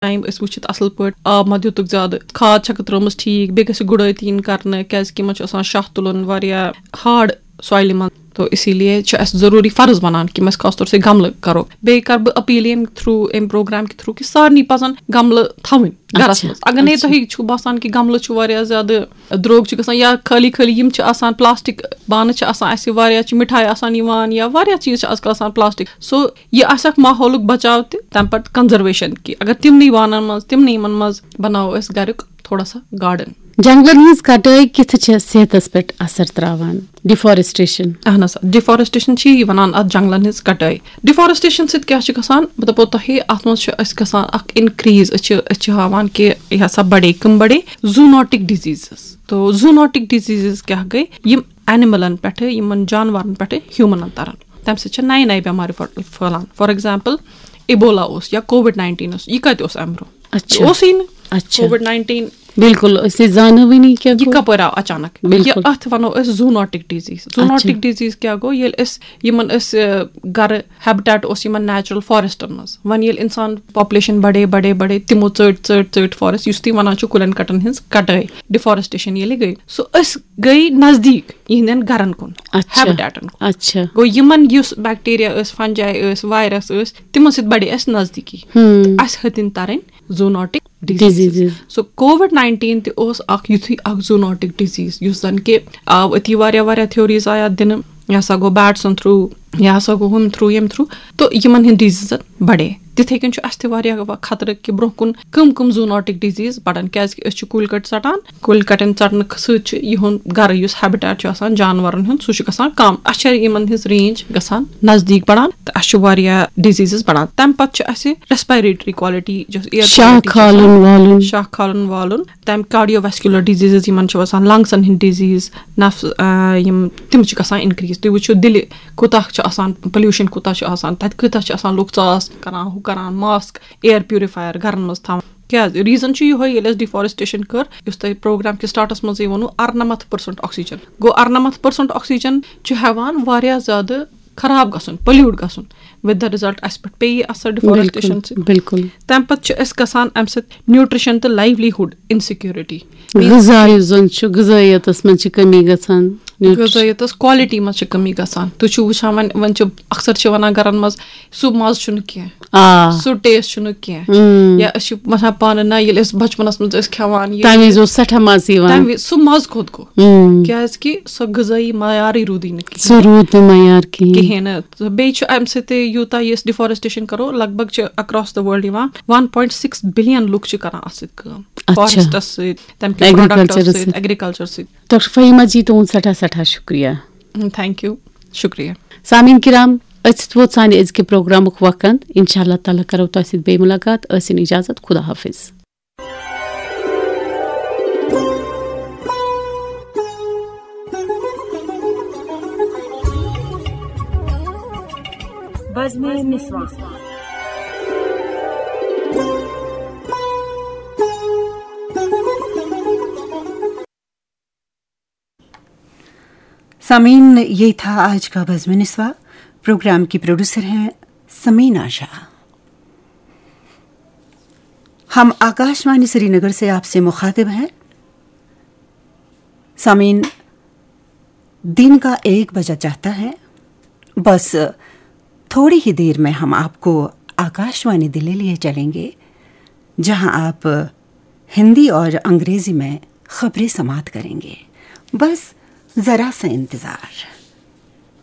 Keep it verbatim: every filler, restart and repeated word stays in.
Time أسۍ وٕچھِتھ اَصٕل پٲٹھۍ، آب ما دیُتُکھ زیادٕ، کھاد چھَکھ ترٲومٕژ ٹھیٖک، بیٚیہِ گژھِ گُڈٲے تہِ یِنۍ کَرنہٕ، کیٛازِکہِ یِمَن چھُ آسان شاہ تُلُن واریاہ ہارڈ سویلہِ منٛز۔ تو اسی لیے چھُ اَسہِ ضروٗری فرض بَنان کہِ یِم أسۍ خاص طور سے گملہٕ کَرو۔ بیٚیہِ کَرٕ بہٕ اپیٖل ییٚمہِ تھرٛوٗ، اَمہِ پروگرام کہِ تھرٛوٗ، کہِ سارنٕے پَزَن گملہٕ تھاوٕنۍ گَرَس اچھا، منٛز۔ اگر نے اچھا۔ تۄہہِ چھُو باسان کہِ گملہٕ چھُ واریاہ زیادٕ درٛوگ چھُ گژھان، یا خٲلی خٲلی یِم چھِ آسان، پلاسٹک بانہٕ چھِ آسان، اَسہِ واریاہ چھِ مِٹھایہِ آسان یِوان، یا واریاہ چیٖز چھِ آزکل آسان پلاسٹک۔ سو یہِ آسہِ اکھ ماحولُک بچاو تہِ، تَمہِ پتہٕ کنزرویشن کہِ اگر تِمنٕے وانن منٛز، تِمنٕے یِمن منٛز بناوو أسۍ گریُک تھوڑا سا گارڈن۔ جنگلن ہٕنٛز کٹٲے کِتھ چھِ صحتس پٮ۪ٹھ اثر تراوان؟ ڈیفارسٹریشن۔ اہن حظ، ڈیفارسٹریشن چھِ یہِ وَنان اَتھ جنگلن ہٕنٛز کٹٲے۔ ڈیفارسٹریشن سۭتۍ کیٛاہ چھُ گژھان؟ بہٕ دَپو تۄہہِ، اَتھ منٛز چھُ اَسہِ گژھان اکھ انکریز۔ أسۍ چھِ، أسۍ چھِ ہاوان کہِ یہِ ہسا بڑے، کٕم بڑے؟ زوٗناٹک ڈِزیٖزز۔ تو زوٗناٹک ڈِزیٖزز کیٛاہ گٔے؟ یِم اینملن پٮ۪ٹھٕ، یِمن جانورن پٮ۪ٹھٕ ہیوٗمنن تران، تَمہِ سۭتۍ چھِ نَیہِ نَیہِ بٮ۪مارِ پھٔ-، پھٔہلان۔ فار ایگزامپل، ایبولا اوس یا کووِڈ ناینٹیٖن اوس، یہِ کَتہِ اوس اَمہِ برونٛہہ؟ اچھا۔ یہِ اوسُے نہٕ۔ اچھا۔ Covid nineteen. بِلکُل، أسۍ ٲسۍ زانٲنی کیٛاہ یہِ گوٚو۔ کپٲرۍ آو اچانک؟ بِلکُل۔ یہِ، اَتھ وَنو أسۍ زوٗناٹک ڈِزیٖز۔ اچھا۔ زوٗناٹک ڈِزیٖز کیٛاہ گوٚو؟ ییٚلہِ أسۍ یِمن أسۍ، آ، گرٕ ہیبِٹیٹ اوس یِمن نیچرل فارسٹن منٛز، وۄنۍ ییٚلہِ اِنسان پاپولیشن بڑے، بڑے، بڑے، تِمو ژٔٹۍ، ژٔٹۍ، ژٔٹۍ فارسٹ، یُس تُہۍ وَنان چھِو کُلٮ۪ن کَٹن ہٕنٛز کَٹٲے، ڈِفارسٹریشن ییٚلہِ گٔے، سُہ أسۍ گٔے نزدیٖک یِہنٛدٮ۪ن گرن کُن، اچھا۔ ہیبِٹیٹن کُن۔ اچھا۔ گوٚو یِمن یُس بیکٹیریا ٲسۍ، فنجاے ٲسۍ، وایرس ٲسۍ، تِمن سۭتۍ بڑے اَسہِ نزدیٖکی۔ ہم۔ اَسہِ ہیٚتِن تَرٕنۍ زوٗناٹک ڈِزیٖزز۔ ڈِزیٖزز۔ سو کووِڈ ناینٹیٖن تہِ اوس اکھ یُتھُے اکھ زوٗناٹک ڈِزیٖز، یُس زن کہِ آو أتی واریاہ، واریاہ تھیوریٖز آیہِ اَتھ دِنہٕ۔ یہِ ہسا گوٚو بیٹسن تھرٛوٗ، یہِ ہسا گوٚو ہُمہِ تھرٛوٗ، ییٚمہِ تھرٛوٗ۔ تہٕ یِمن ہٕنٛدۍ ڈِزیٖزن بڑے۔ تِتھے کٔنۍ چھُ اَسہِ تہِ واریاہ خطرٕ کہِ برونٛہہ کُن کٕم کٕم زوٗناٹک ڈِزیٖز بڑن، کیٛازِ کہِ أسۍ چھِ کُلۍ کٔٹۍ ژٹان، کُلۍ کَٹٮ۪ن ژٹنہٕ سۭتۍ چھُ یِہُنٛد گرٕ یُس ہیبِٹیٹ چھُ آسان جانورن ہُنٛد، سُہ چھُ گژھان کم۔ اَسہِ چھےٚ یِمن ہٕنٛز رینج گژھان نزدیٖک بڑان تہٕ اَسہِ چھُ واریاہ ڈِزیٖزز بڑان۔ تَمہِ پتہٕ چھُ اَسہِ ریسپیریٹری کوالٹی، یۄس air شاہ quality چھِ آسان، کھالُن والُن۔ شاہ کھالُن والُن، تَمہِ کارڈیو ویسکیولر ڈِزیٖزز یِمن چھِ آسان، لنگسن ہٕنٛدۍ ڈِزیٖز، نفس، آ، یِم تِم چھِ گژھان انکریٖز۔ تُہۍ وٕچھِو دِلہِ کوٗتاہ چھُ آسان، پولیوشن کوٗتاہ چھُ آسان، تَتہِ کۭتیاہ چھِ آسان لُکھ ژاس کران، ہُہ کران، ماسک، ایئر پیوریفایر گرن منٛز تھاوان۔ کیٛازِ؟ ریٖزن چھُ یِہوٚے، ییٚلہِ اَسہِ ڈیفارسٹریشن کٔر، یُس تۄہہِ پروگرام کہِ سٹارٹس منٛزٕے ووٚنوُ، اَرنَمَتھ پٔرسنٹ آکسیجن گوٚو۔ اَرنَمَتھ پٔرسنٹ آکسیجن چھُ ہٮ۪وان واریاہ زیادٕ خراب گژھُن، پولیوٹ گژھُن، with the result اَسہِ پٮ۪ٹھ پیٚیہِ اثر ڈیفارسٹریشن بِلکُل، سۭتۍ۔ بِلکُل۔ تَمہِ پتہٕ چھُ اَسہِ گژھان اَمہِ سۭتۍ نیوٗٹریشن تہٕ لایِولی ہُڈ انسیکیورٹی۔ غذا یُس زن چھُ، غذٲیتس منٛز چھِ کٔمی گژھان۔ نیوٗٹری- غذٲیتس کوالٹی منٛز چھِ کٔمی گژھان۔ تُہۍ چھِو وٕچھان وۄنۍ، وۄنۍ چھِ اکثر چھِ ونان گرن منٛز، سُہ مزٕ چھُنہٕ کینٛہہ، آ۔ سُہ ٹیسٹ چھُنہٕ کینٛہہ۔ اۭں۔ یا أسۍ چھِ وَنان پانہٕ، نہ، ییٚلہِ أسۍ بچپنس منٛز ٲسۍ کھٮ۪وان، یہِ تَمہِ وِزِ اوس سٮ۪ٹھاہ مزٕ یِوان۔ تَمہِ وِزِ سُہ مزٕ کوٚت گوٚو؟ اۭں۔ کیازِ کہِ سۄ غذٲیی معیارٕے روٗدٕے نہٕ کِہیٖنۍ۔ سُہ روٗد نہٕ معیار کِہیٖنۍ۔ کِہیٖنۍ نہٕ۔ تہٕ بیٚیہِ چھُ اَمہِ سۭتۍ تہِ یوٗتاہ یہِ أسۍ ڈیفارسٹریشن کرو، لگ بگ چھِ across the world یِوان ون پوینٹ سکس بلین لُکھ چھِ کران اَتھ سۭتۍ کٲم۔ اچھا۔ فارسٹس سۭتۍ، تَمہِ کہِ ایگریکلچرس پروڈکٹس سۭتۍ، سۭتۍ۔ ایگریکلچر سۭتۍ۔ ڈاکٹر فہیمہ جی، تُہُنٛد سٮ۪ٹھاہ سٮ۪ٹھاہ شُکریہ۔ تھینک یو، شُکریہ۔ سامعین کرام، أتھۍ سۭتۍ ووت سانہِ أزکہِ پروگرامُک وقت۔ انشاءاللہ تعالیٰ کرو تۄہہِ سۭتۍ بیٚیہِ مُلاقات۔ ٲسِن اجازت، خدا حافظ۔ بزمِ نسواں۔ سامعین، یہ تھا آج کا بزم نسواں۔ پروگرام کی پروڈیوسر ہیں سمینہ شاہ۔ ہم آکاشوانی سری نگر سے آپ سے مخاطب ہیں۔ سامعین، دن کا ایک بجا چاہتا ہے، بس تھوڑی ہی دیر میں ہم آپ کو آکاشوانی دلی لیے چلیں گے، جہاں آپ ہندی اور انگریزی میں خبریں سماعت کریں گے۔ بس ذرا سا انتظار۔